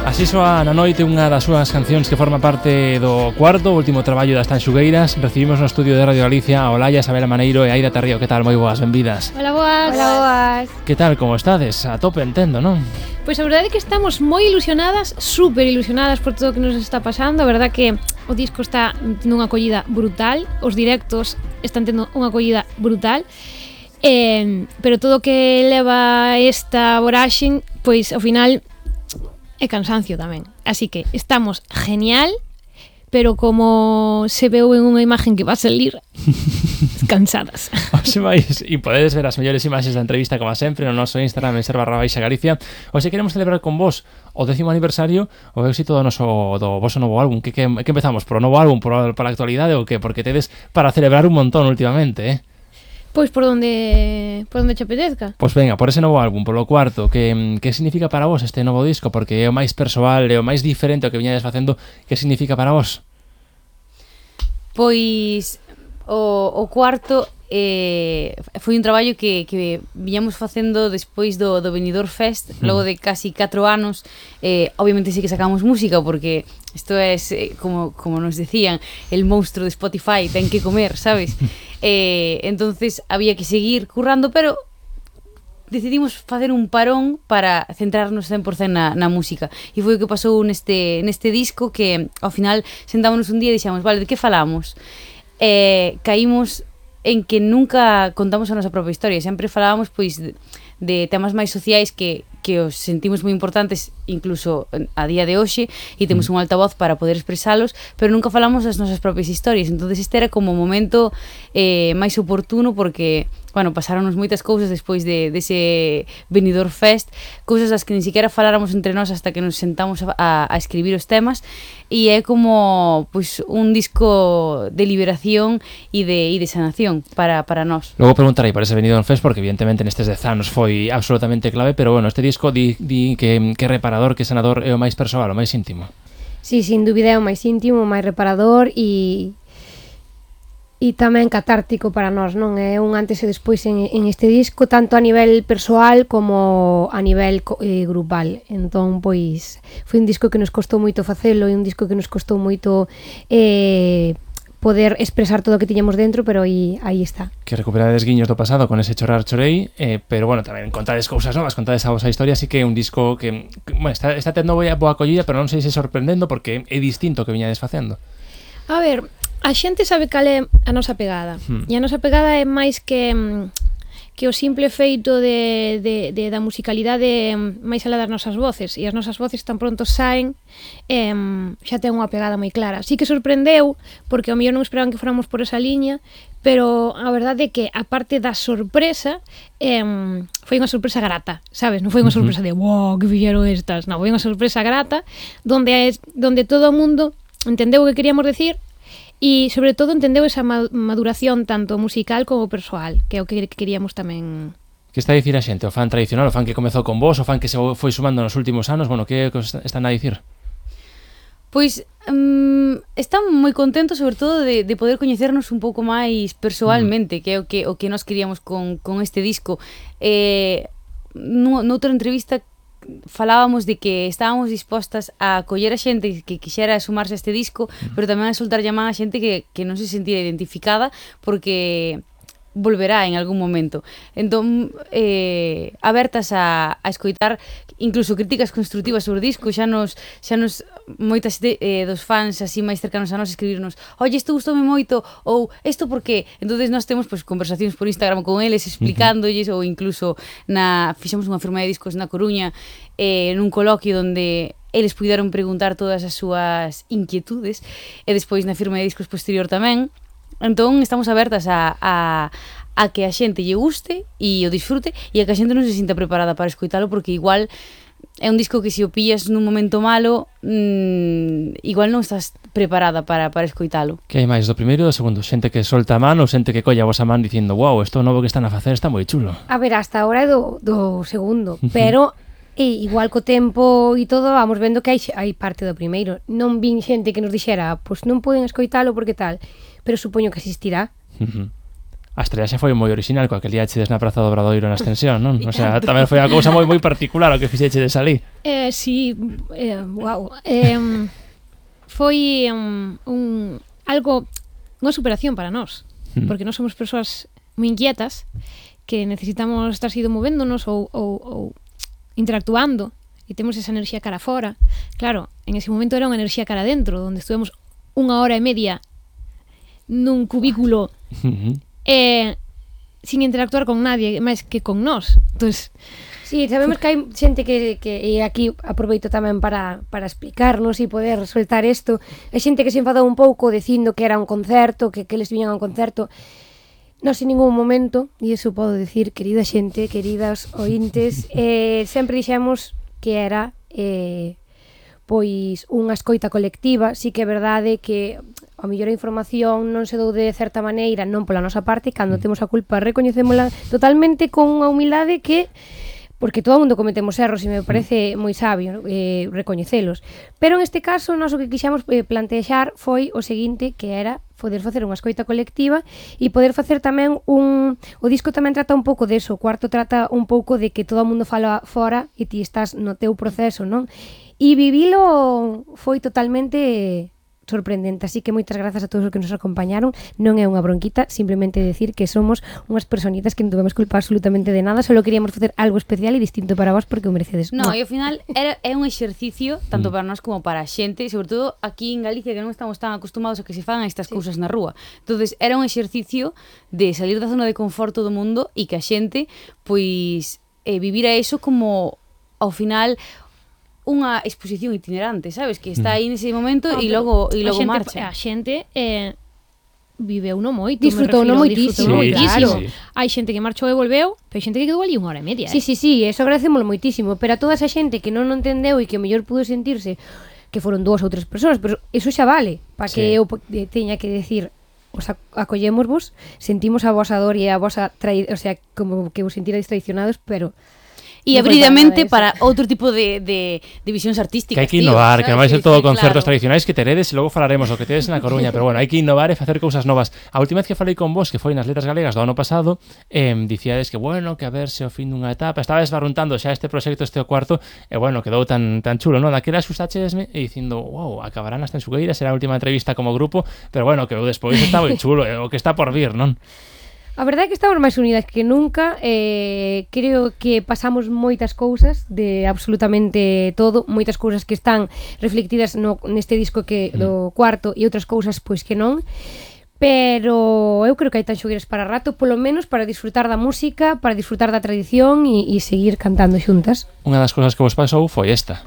Así soa Na Noite, unha das súas cancións que forma parte do cuarto último traballo das Tanxugueiras. Recibimos no estudio de Radio Galicia a Olalla, Isabela Maneiro e Aida Tarrío. Que tal? Moi boas, benvidas. Hola, boas. Hola, boas. Que tal, como estades? A tope, entendo, non? Pois a verdade é que estamos moi ilusionadas, super ilusionadas por todo o que nos está pasando. A verdade que o disco está tendo unha acollida brutal, os directos están tendo unha acollida brutal. Pero todo o que leva esta voraxen, pois ao final é cansancio tamén. Así que estamos genial, pero como se veu en unha imagen que va a salir, cansadas. Oxe vais, e podedes ver as mellores imaxes da entrevista como sempre no noso Instagram en @Galicia. Oxe, queremos celebrar con vos o 10º aniversario, o éxito do voso novo álbum. Que empezamos? Por o novo álbum, por a actualidade ou que? Porque tedes para celebrar un montón últimamente, Pois por onde te apetezca. Pois venga, por ese novo álbum, polo cuarto, que significa para vos este novo disco? Porque é o máis persoal, é o máis diferente ao que viñades facendo. Que significa para vos? Pois o cuarto foi un traballo que viñamos facendo despois do Benidorm Fest, logo de casi 4 anos. Obviamente sí que sacamos música, porque isto é como nos decían, el monstruo de Spotify, ten que comer, sabes? Entonces había que seguir currando, pero decidimos facer un parón para centrarnos 100% na música. E foi o que pasou neste disco, que ao final sentámonos un día e dixemos, vale, de que falamos? Caímos en que nunca contamos a nosa propia historia, sempre falábamos pois de temas máis sociais que os sentimos moi importantes incluso a día de hoxe, e temos un altavoz para poder expresalos, pero nunca falamos das nosas propias historias. Entonces este era como o momento máis oportuno, porque pasáronos moitas cousas despois dese Benidorm Fest, cousas das que ni siquiera faláramos entre nós hasta que nos sentamos a escribir os temas, e é como pois un disco de liberación e de sanación para nós. Logo preguntarei por ese Benidorm Fest, porque evidentemente nestes 10 anos foi absolutamente clave, pero este disco di que reparador, que sanador, é o máis persoal, o máis íntimo. Sí, sin dúbida é o máis íntimo, o máis reparador e tamén catártico para nós, non? É un antes e despois en este disco, tanto a nivel persoal como a nivel grupal. Entón, pois, foi un disco que nos costou moito facelo, e un disco que nos costou moito poder expresar todo o que tiñamos dentro, pero aí está. Que recuperades guiños do pasado con ese Chorar Chorei, pero tamén contades cousas novas, contades a vosa historia, así que é un disco que está tendo boa acollida, pero non sei se sorprendendo, porque é distinto que viñades facendo. A ver, a xente sabe cal é a nosa pegada, e a nosa pegada é máis que o simple feito da musicalidade máis alá das nosas voces, e as nosas voces tan pronto saen xa ten unha pegada moi clara. Sí que sorprendeu, porque ao mellor non esperaban que fóramos por esa liña, pero a verdade é que a parte da sorpresa foi unha sorpresa grata, sabes? Non foi unha sorpresa de wow, que fixeron estas, non, foi unha sorpresa grata donde todo o mundo entendeu o que queríamos decir, e sobre todo entendeu esa maduración tanto musical como persoal, que é o que queríamos tamén. Que está a dicir a xente? O fan tradicional, o fan que comezou con vos, o fan que se foi sumando nos últimos anos? Que están a dicir? Pois están moi contentos, sobre todo de poder coñecernos un pouco máis persoalmente, que é o que nós queríamos con este disco. Noutra entrevista falábamos de que estábamos dispostas a acoller a xente que quixera sumarse a este disco, pero tamén a soltar llamada a xente que non se sentira identificada, porque volverá en algún momento. Entón, abertas a escoitar incluso críticas constructivas sobre o disco. Xa nos moitas dos fans así máis cercanos a nós escribirnos, oye, isto gustoume moito, ou isto por qué? Entonces nós temos conversacións por Instagram con eles explicándolles, ou incluso fixemos unha firma de discos na Coruña, nun coloquio onde eles puideron preguntar todas as súas inquietudes, e despois na firma de discos posterior tamén. Entón estamos abertas a que a xente lle guste e o disfrute, e a que a xente non se sinta preparada para escoitalo, porque igual é un disco que se o pillas nun momento malo, igual non estás preparada para escoitalo. Que hai máis do primeiro e do segundo? Xente que solta a man ou xente que colla a vosa man dicindo wow, isto novo que están a facer está moi chulo? A ver, hasta ahora é do segundo, pero igual co tempo e todo vamos vendo que hai parte do primeiro. Non vin xente que nos dixera, pois non poden escoitalo porque tal, pero supoño que existirá. A estrellaxe foi moi original coa que liachedes na Praza do Obradoiro na Extensión, non? O sea, tamén foi unha cousa moi particular o que fixechedes ali. Sí, wow. Foi algo, unha superación para nós, porque nós somos persoas moi inquietas que necesitamos estar sido movéndonos ou interactuando e temos esa enerxía cara fora. Claro, en ese momento era unha enerxía cara dentro, onde estuvemos 1 hora e media nun cubículo sin interactuar con nadie máis que con nós. Entonces, sí, sabemos que hai xente que e aquí aproveito tamén para explicarnos e poder soltar isto. Hai xente que se enfadou un pouco dicindo que era un concerto, que les viñan a un concerto. Nós en ningún momento, e iso podo decir, querida xente, queridas ointes, sempre dixemos que era pois unha escoita colectiva. Sí que é verdade que a mellor a información non se dou de certa maneira, non pola nosa parte, cando temos a culpa recoñecémola totalmente con unha humildade que, porque todo o mundo cometemos erros e me parece moi sabio recoñecelos, pero en este caso nós o que quixemos plantexar foi o seguinte, que era poder facer unha escoita colectiva e poder facer tamén o disco tamén trata un pouco deso, o cuarto trata un pouco de que todo o mundo fala fora e ti estás no teu proceso, non? E vivilo foi totalmente sorprendente, así que moitas grazas a todos os que nos acompañaron. Non é unha bronquita, simplemente decir que somos unhas personitas que non tuvemos culpa absolutamente de nada, solo queríamos facer algo especial e distinto para vos porque o merecedes. No, e ao final é un exercicio tanto para nós como para a xente, sobre todo aquí en Galicia, que non estamos tan acostumados a que se fagan estas cousas na rúa. Entonces era un exercicio de salir da zona de conforto do mundo e que a xente pois vivira eso como ao final unha exposición itinerante, sabes? Que está aí nese momento e logo marcha. A xente viveu no moito, disfrutou no moitísimo. Sí. Hai xente que marchou e volveu, pero hai xente que quedou ali 1 hora e media. Sí, eso agradecémoslo moitísimo, pero a toda esa xente que non entendeu e que mellor pudo sentirse que foron 2 ou 3 persoas, pero eso xa vale, para que eu teña que decir os acollémosvos, sentimos a vosa dor e a vosa o sea, como que vos sentirades traicionados, pero E abridamente para outro tipo de visións artísticas. Que hai que innovar, que non vai ser todo concertos tradicionais que teredes e logo falaremos o que tedes na Coruña, pero bueno, hai que innovar e facer cousas novas. A última vez que falei con vos, que foi nas Letras Galegas do ano pasado, dicíades que bueno, que a ver se o fin dunha etapa, estabas barruntando xa este proxecto, este o cuarto, e bueno, quedou tan chulo, non? Daquela xustaxesme e dicindo, wow, acabarán as Tensugueiras, será a última entrevista como grupo, pero bueno, que o despois está moi chulo, o que está por vir, non? A verdade é que estamos máis unidas que nunca. Creo que pasamos moitas cousas de absolutamente todo, moitas cousas que están reflectidas neste disco que do cuarto e outras cousas pois que non. Pero eu creo que hai Tanxugueiras para rato, polo menos para disfrutar da música, para disfrutar da tradición e seguir cantando xuntas. Unha das cousas que vos pasou foi esta.